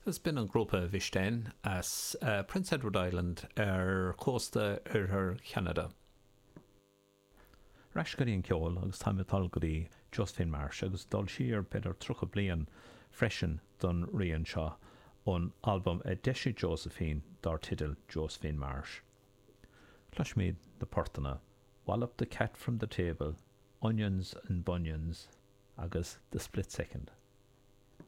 Agus b'in an grúpa Vishten as Prince Edward Island ar chósta oirthear Cheanada. Ar ais go dtí an ceol agus táim ag dul go dtí Josephine Marsh agus dul siar b'fhéidir 30 bliain freisin don rian seo ón albam a d'eisigh Josephine dar teideal Josephine Marsh. Cloisfimid na portanna Wallop the Cat from the Table, Onions and Bunions agus The Split Second.